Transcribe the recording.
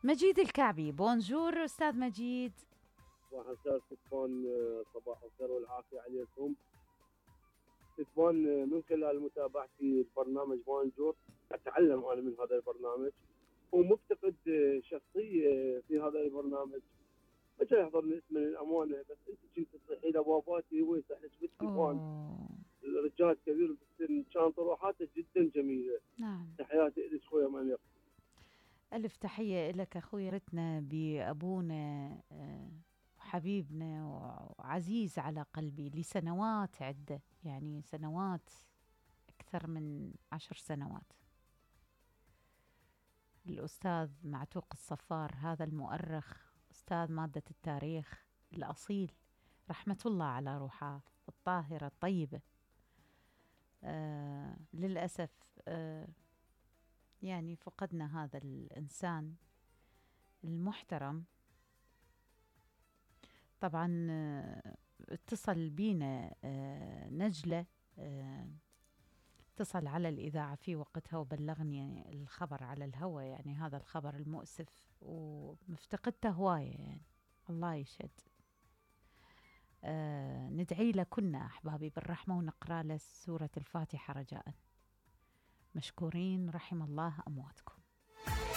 مجيد الكعبي. بونجور أستاذ مجيد. صباح الخير ستفان، صباح الخير والعافية عليكم ستفان. من خلال متابعتي البرنامج بونجور أتعلم أنا من هذا البرنامج، ومفتقد شخصية في هذا البرنامج. اجى يحضرني اسم الأمانة، بس أنت كنت تصيحي لباباتي هو يصح لك بالتليفون. الرجال كبير بالسن، كان طروحاته جدا جميلة. نعم. تحياتي إلك خويا منير. ألف تحية لك أخوي. رتنا بأبونا وحبيبنا وعزيز على قلبي لسنوات عدة، يعني سنوات أكثر من 10 سنوات. الأستاذ معتوق الصفار، هذا المؤرخ أستاذ مادة التاريخ الأصيل، رحمة الله على روحه الطاهرة الطيبة. للأسف يعني فقدنا هذا الإنسان المحترم. طبعا اتصل بينا نجلة، اتصل على الإذاعة في وقتها وبلغني الخبر على الهوى، يعني هذا الخبر المؤسف، ومفتقدته هواية يعني. الله يشهد. ندعي له كنا أحبابي بالرحمة، ونقرأ له سورة الفاتحة رجاء. مشكورين، رحم الله أمواتكم.